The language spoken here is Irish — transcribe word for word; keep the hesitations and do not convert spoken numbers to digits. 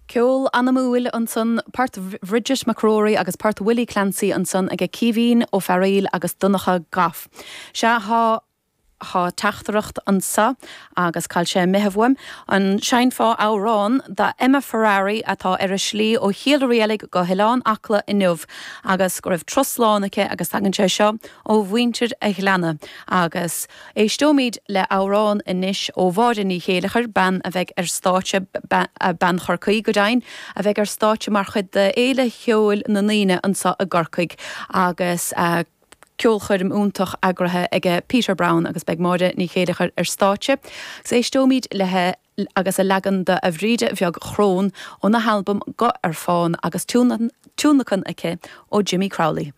Ceol anamúil ansan port Bridget McCrory agus port Willie Clancy ansan age Caoimhín Ó Fearghaíl agus Donncha Goff. Sea tá Tá teachtaireacht anseo agus cá bhfuil sé imithe uaim an seinnfeá amhrán do Emma Ferrari atá ar a slí ó Chill Rialaig go hOileán Acla inniu agus go raibh turas slán aici agus tagann sé seo ó mhuintir a Ghleanna agus éisteoimid le amhrán anois ó Mháire Ní Chéileachair bean a bheidh ar stáitse bean Chorcaí go deimhin a bheidh ar stáitse mar chuid de Fhéile Cheoil na nDaoine anseo i gCorcaigh agus uh, ceolchoirm iontach eagraithe age Peter Brown agus beidh Máire Ní Chéileachair ar stáitse. Agus éisteoimid léi agus a leagan de A Bhríde Bheag Chrón óna halbam Guth ar Fán agus tionlacan aici ó Jimmy Crowley.